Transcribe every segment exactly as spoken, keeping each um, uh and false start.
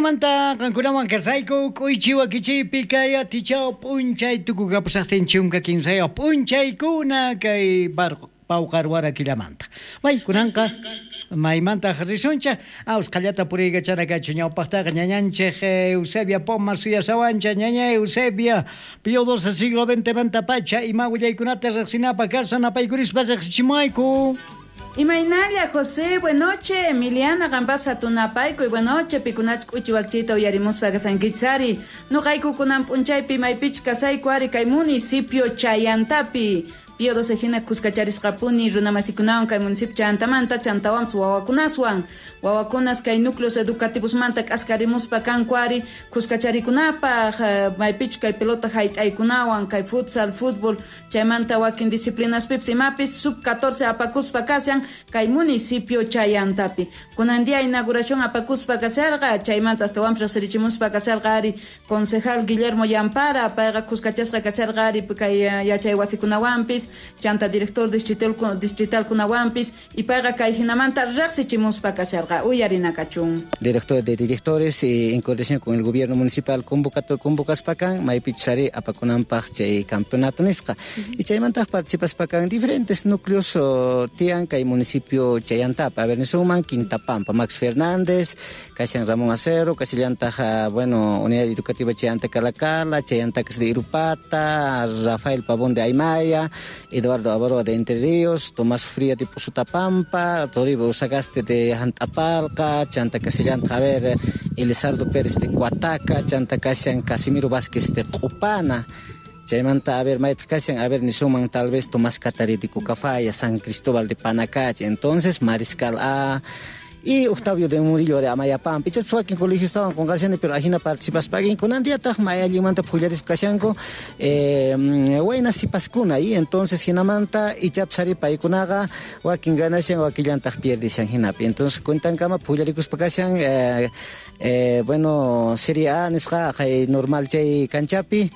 Ajinamanta qankunawan kasayku k'uychi wakichiypi kay atichaw p'unchay tukukapusaqtin chunka kinsayuq p'unchaykuna kay pawqarwara killamanta. May kunanqa maymantaq risunchik usqhallata puriykachana kachu ñawpaqtaqa ñañanchik Eusebia Poma suyasawancha ñaña Eusebia Pío doce siglo veinte pacha ima willaykunata riqsinapaq kashan apaykurispa riqsichimayku. Imaynalla José, buenoche, Emiliana, qampapis hatunapayku, buenoche, pikunach k'uchi wakchiyta uyarimuspa kasankichari. Nuqayku kunan p'unchaypi maypichu kasayku ari kay municipio Chayantapi. Pío doce hina kuskacharisqapuni runamasikunawan kay municipio Chayantamanta chantawanpis wawakunaswan. Wawakunas kay núcleos educativosmanta k'askarimuspa kanku ari kuskacharikunapaq, maypichu kay pelota hayt'aykunawan, kay futsal, fútbol, chaymanta wakin disciplinaspipis imapis sub catorce apakuspa kashan kay municipio Chayantapi. Kunan día inauguración apakuspa kasharqa, chaymanta astawanpis riqsirichimuspa kasharqa ari concejal Guillermo Yampara, payqa kuskachasqa kasharqa ari kay yachay wasikunawanpis, chanta director distrital distrital kunawanpis y payqa kay hinamanta riqsichimuspa kasharqa uyarinakachun. Director de directores eh, en coordinación con el gobierno municipal convocato convocaspakan maypichari apakunanpaq chay campeonato nisqa. Y chaymantaq participaspakan diferentes núcleos oh, tiyan kay municipio Chayantapa, a ver nisuman Quintapampa, Max Fernández, kashan Ramón Acero, kasillantaq bueno, Unidad Educativa Chayanta Calacala, Chayanta de Irupata, Rafael Pavón de Aymaya, Eduardo Avaroa de Entre Ríos, Tomás Fría de Pozotapampa, Toribio Usagaste de Jantapalca, Chanta Casillanta, a ver, Elizardo Pérez de Coataca, Chanta Casian Casimiro Vázquez de Copana, chaymanta a ver maytaq kashan, a ver nisuman tal vez Tomás Catari de Cucafaya, San Cristóbal de Panacache, entonces Mariscal A y Octavio de Murillo de Amayapampa. Ichapas wakin colegio estaban con qashani, pero ajina participaspa kunan diataq may allinmanta phullarispa kashanku eh, wayna sipaskuna y entonces hinamanta ichapas ari paykunaqa wakin ganashan wakillantaq pierdishan hinapi. Entonces cuentankama phullarikuspa kashan eh, eh, bueno, Serie A nisqa kay normal chay kanchapi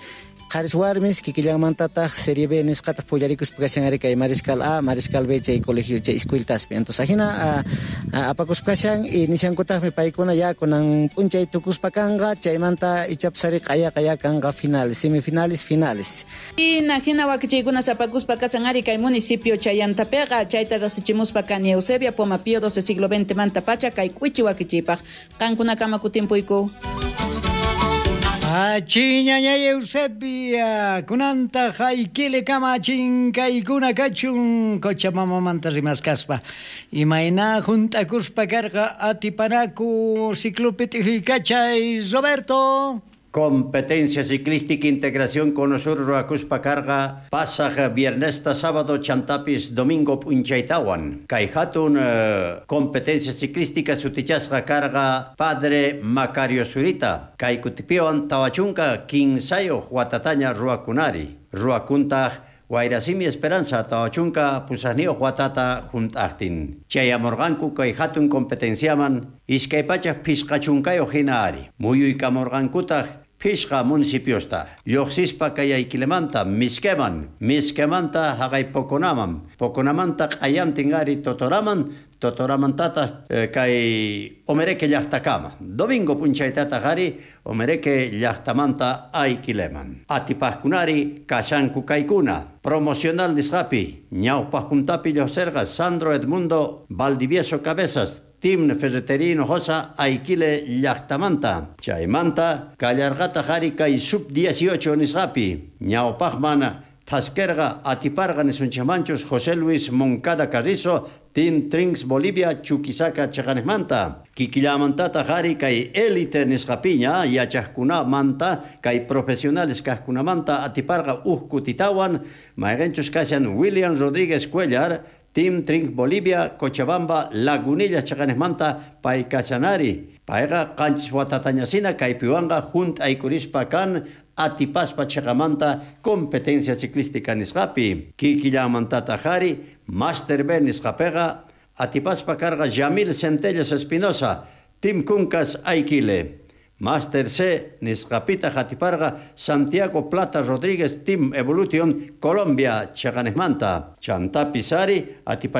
qharis warmis kikillanmantataq Serie B nisqataq phullarikuspa kashan ari kay Mariscal A, Mariscal B chay colegio chay escueltaspi. Entonces ajina apakuspa kashan y nishankutaqmi paykuna ya kunan p'unchay tukuspa kanqa chaymanta ichapas ari q'aya q'aya kanqa finales, semifinales, finales. Hina hina wakichiykunas apakuspa kashan ari kay municipio Chayantapiqa chayta riqsichimuspa kani Eusebia Poma Pío doce siglo veinte manta pacha kay k'uchi wakichiypaq. Qankunakama kutimpuyku. Achiñañay Eusebia, kunanta haykile kama chinkaykuna kachun Cochabambamanta rimaskaspa. Imayna junt'akuspa karqa atipanaku ciclopi t'ijuykachay Roberto. Competencia ciclística integración Conosur ruwakuspa karqa pasaq viernesta sábado chantapis domingo p'unchaytawan. Kay hatun eh, competencia ciclística sutichasqa karqa Padre Macario Zurita. Kay kutipiwan tawa chunka kinsayuq watataña ruwakunari. Ruwakuntaq Wayrasimi Esperanza tawa chunka pusaqniyuq watata junt'aqtin. Chayamurqanku kay hatun competenciaman iskay pachak phisqa chunkayuq hina ari. Muyuykamurqankutaq phishqa municipiosta. Lluqsispa kay Ayquilemanta Mizqueman, Mizquemanta haqay Poconaman, Poconamanta q'ayantin ari Totoraman, Totoramantataq eh, kay Omereque llaqtakama. Domingo p'unchaytataq ari Omereque llaqtamanta Ayquileman. Atipaqkunari kashanku kaykuna. Promocional nisqapi ñawpaq puntapi lluqsirqa Sandro Edmundo Valdivieso Cabezas, Team Ferretería Hinojosa Ayquile llaqtamanta. Chaymanta kallarqataq ari kay sub dieciocho nisqapi ñawpaqman thaskerqa atiparqa nisunchikmanchus José Luis Moncada Carrizo, Team Trinks Bolivia Chuquisaca chaqanejmanta. Kikillamantataq ari kay élite nisqapiña yachaqkunamanta kay profesionales kaqkunamanta atiparqa uj kutitawan mayqinchus kashan William Rodríguez Cuellar, Team Trink Bolivia, Cochabamba, Lagunilla chaqanejmanta pay kashanari. Payqa qanchis watatañasina kaypiwanqa junt'aykurispa kan atipaspa chaqamanta competencia ciclística nisqapi. Kikillamantataq ari Master B nisqapiqa atipaspa karqa Yamil Centelles Espinosa, Team Kuncas Ayquile. Master C nisqapitaq atiparqa Santiago Plata Rodríguez, Team Evolution Colombia chaqanejmanta. Chantapis ari atipa